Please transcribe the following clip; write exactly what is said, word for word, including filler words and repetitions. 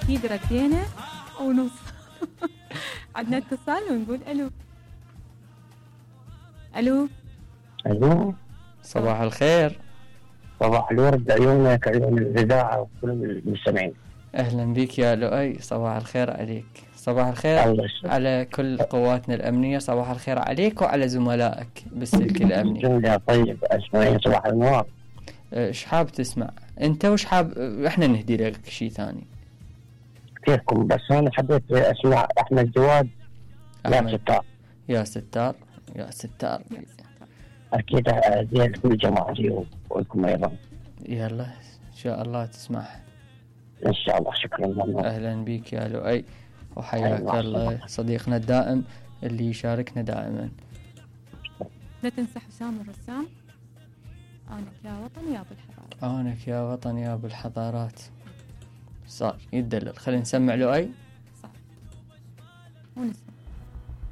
اكيد ردينا ونص. عندنا اتصال ونقول الو. الو الو صباح الخير. صباح الورد، عيونك عيون الاذاعه وكل المستمعين. اهلا بك يا لؤي، صباح الخير عليك. صباح الخير على كل قواتنا الامنيه، صباح الخير عليك وعلى زملائك بالسلك الامني. جمله طيب، اسمعين صباح النور. ايش حاب تسمع انت وش حاب احنا نهدي لك شيء ثاني؟ كيفكم؟ بس انا حبيت اسمع احمد جواد. يا ستار يا ستار يا ستار. اكيد زين كل جماعتي ولكم ايضا. يلا ان شاء الله تسمعها ان شاء الله. شكرا لله. اهلا بك يا لؤي وحياك الله صديقنا الدائم اللي يشاركنا دائما. لا تنسى حسام الرسام، آنك يا وطن يا بالحضارات. آنك يا وطن يا بالحضارات. صار يدلل. خلينا نسمع لؤي. صح ونسمع.